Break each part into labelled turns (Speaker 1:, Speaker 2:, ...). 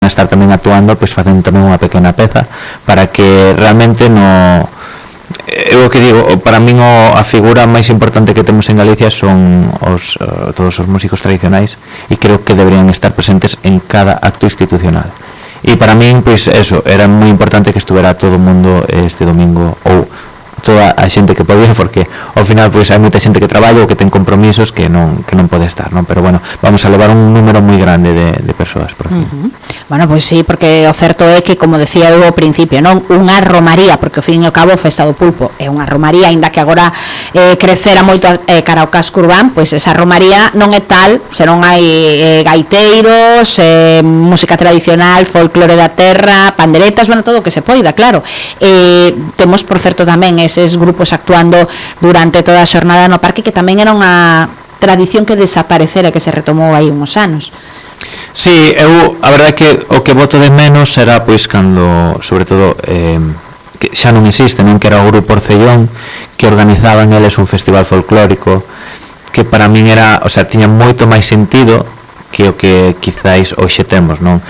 Speaker 1: a estar tamén actuando, pois facendo tamén unha pequena peza para que realmente no... Eu que digo, para min a figura máis importante que temos en Galicia son todos os músicos tradicionais, e creo que deberían estar presentes en cada acto institucional. E para min, pois eso, era moi importante que estuvera todo o mundo este domingo, ou toda a xente que podía, porque ao final pois hai moita xente que traballa ou que ten compromisos que non pode estar, non? Pero bueno, vamos a levar un número moi grande de persoas por fin.
Speaker 2: Bueno, pois sí, porque o certo é que, como decía eu ao principio, non unha romaría, porque ao fin e ao cabo Festa do Pulpo é unha romaría, aínda que agora crecera moito cara ao casco urbán, pois esa romaría non é tal se non hai gaiteiros, música tradicional, folclore da terra, panderetas, bueno, todo o que se poida, claro. Temos, por certo, tamén eses grupos actuando durante toda a xornada no parque, que tamén era unha tradición que desaparecera, que se retomou aí uns anos.
Speaker 1: Sí, eu a verdade é que o que boto de menos era pois cando, sobre todo, que xa non existe, non, que era o grupo Orcellón, que organizaban eles un festival folclórico que para min era, o sea, tiña moito máis sentido que o que quizáis hoxe temos, non?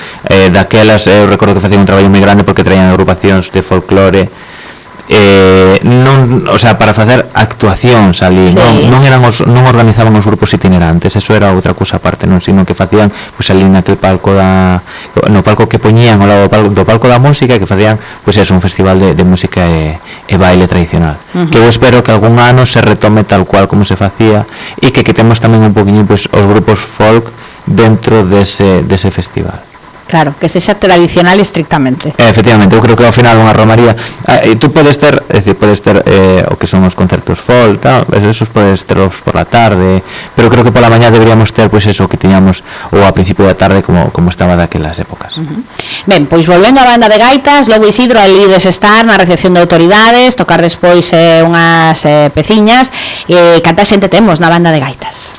Speaker 1: Daquelas eu recordo que facían un traballo moi grande porque traían agrupacións de folclore, non, o sea, para facer actuacións ali, sí. non organizaban os grupos itinerantes, eso era outra cousa aparte, non, sino que facían pois ali naquele palco no palco que poñían ao lado do palco da música, que facían pois eso, un festival de música e baile tradicional, que eu espero que algún ano se retome tal cual como se facía, e que temos tamén un poquinho pois os grupos folk dentro dese festival.
Speaker 2: Claro, que sexa tradicional estrictamente.
Speaker 1: Efectivamente, eu creo que ao final unha romaría, tú podes ter, é dicir, podes ter o que son os concertos folk, tal, esos podes terlos por la tarde, pero creo que pola mañá deberíamos ter pois eso que tiñamos ou a principio da tarde como estaba daquelas épocas.
Speaker 2: Ben, pois volvendo á banda de gaitas, logo Isidro ali estar na recepción de autoridades, tocar despois unhas peciñas, canta xente temos na banda de gaitas?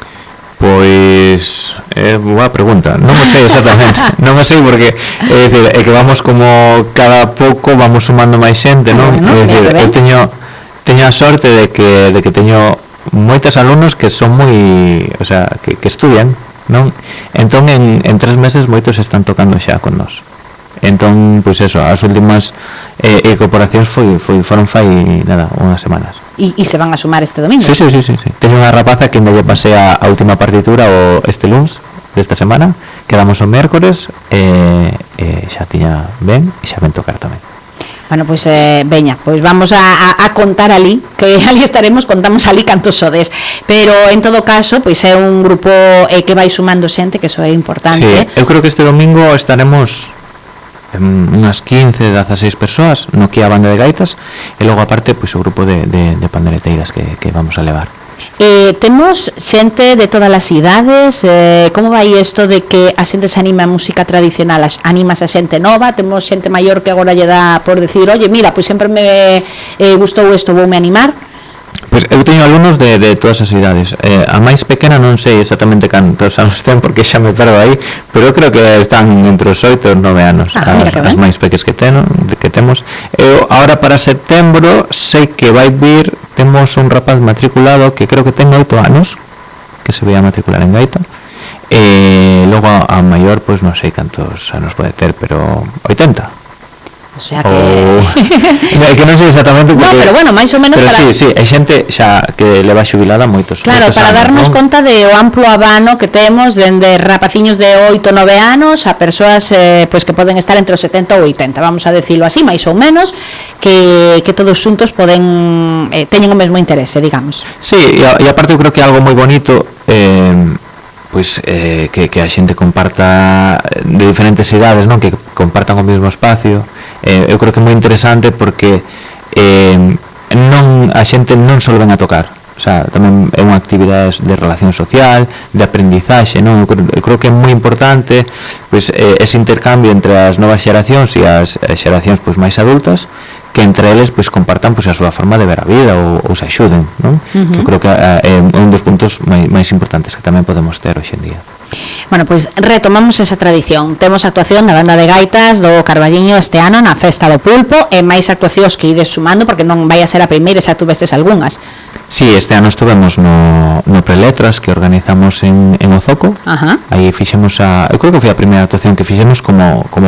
Speaker 1: Pois boa pregunta, non o sei exactamente, non o sei porque é dicir, é que vamos como cada pouco vamos sumando máis xente, non? É dicir, eu teño a sorte de que teño moitos alumnos que son moi, o sea, que estudian, non? Entón en 3 meses moitos están tocando xa con nós. Entón, pois eso, as últimas incorporacións foron fai nada, unhas semanas.
Speaker 2: E se van a sumar este domingo?
Speaker 1: Sí. Teño unha rapaza que ainda lle pasei a última partitura este luns desta semana, quedamos o mércores e xa tiña ben e xa ven tocar tamén.
Speaker 2: Bueno, pois veña, pois vamos a contar ali, que ali estaremos, contamos ali cantos sodes, pero en todo caso, pois é un grupo que vai sumando xente, que eso é importante.
Speaker 1: Sí, eu creo que este domingo estaremos unhas 15, 16 persoas no que é a banda de gaitas, e logo aparte pois o grupo de pandereteiras que vamos a levar.
Speaker 2: Temos xente de todas as idades, como vai isto de que a xente se anima a música tradicional, animas a xente nova, temos xente maior que agora lle dá por decir, oye, mira, pois sempre me gustou isto, voume animar?
Speaker 1: Pois eu teño alumnos de todas as idades. A máis pequena non sei exactamente cantos anos ten porque xa me perdo aí, pero eu creo que están entre os 8 e os 9 anos as máis pequenas que temos. Eu agora para setembro sei que vai vir, temos un rapaz matriculado que creo que ten 8 anos que se vai a matricular en gaita, e logo a maior pois non sei cantos anos pode ter, pero 80.
Speaker 2: O sea que
Speaker 1: que non sei exactamente porque...
Speaker 2: No, pero bueno, máis ou menos
Speaker 1: pero
Speaker 2: para...
Speaker 1: sí, hai xente xa que leva xubilada moitos
Speaker 2: claro, para
Speaker 1: anos,
Speaker 2: darnos conta de o amplo abano que temos dende rapaciños de 8 9 anos a persoas pois que poden estar entre os 70 ou 80, vamos a decirlo así, máis ou menos, que todos xuntos poden teñen o mesmo interese, digamos.
Speaker 1: Sí, e aparte eu creo que é algo moi bonito pois que a xente comparta de diferentes idades, non, que compartan o mesmo espacio. Eu creo que é moi interesante porque a xente non só ven a tocar, o sea, tamén é unha actividade de relación social, de aprendizaxe, non? Eu creo que é moi importante pois ese intercambio entre as novas xeracións e as xeracións pois máis adultas, que entre eles pois compartan pois a súa forma de ver a vida ou se axuden, non? Eu creo que é un dos puntos máis importantes que tamén podemos ter hoxe en día.
Speaker 2: Bueno, pois retomamos esa tradición. Temos actuación da banda de gaitas do Carballiño este ano na Festa do Pulpo e máis actuacións que ides sumando porque non vai a ser a primeira, xa tuvestes algunhas.
Speaker 1: Sí, este ano estuvemos no Preletras que organizamos en Ozoco. Aí fixemos eu creo que foi a primeira actuación que fixemos como